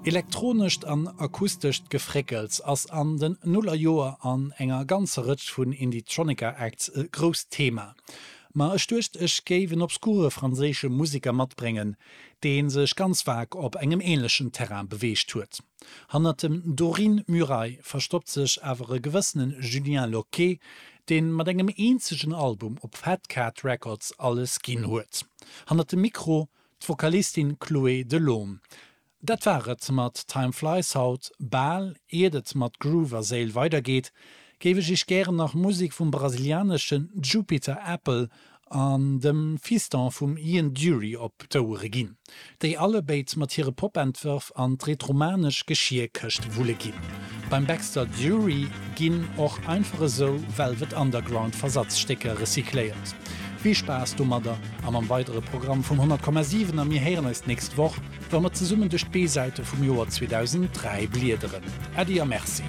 Elektronescht an akustescht Gefréckels ass an den Nullerjoer an enger ganzer Rëtsch vun Indietronica-Acts e grousst Thema. Ma ech duecht ech géif en obskure franséische Museker matbréngen, dee sech ganz vag op engem änlechen Terrain beweegt huet. Hannert dem Dorine Murail verstoppt sech awer e gewëssene Julien Locquet, dee mat engem eenzegen Album op Fat Cat Records alles ginn huet. Hannert dem Mikro D'Vokalistin Chloé Delaume. Dat war et mat Time Flies haut. Bal iert et mat Groove a Séil weidergeet, géif ech iech gären nach Musek vum brasilianesche Jupiter Apple an dem Fiston vum Ian Dury op d'Ouere ginn, déi allebéid mat hire Pop-Entwërf an d'retromanesch Geschierkëscht wulle ginn. Beim Baxter Dury ginn och einfach esou Velvet Underground Versatzstécker recycléiert. Vill Spaass domadder a mam weidere Programm vum 100,7 a mir héieren eis d'nächst Woch, wa mer zesummen duerch d'B-Säite vum Joer 2003 bliederen. Äddi a Merci.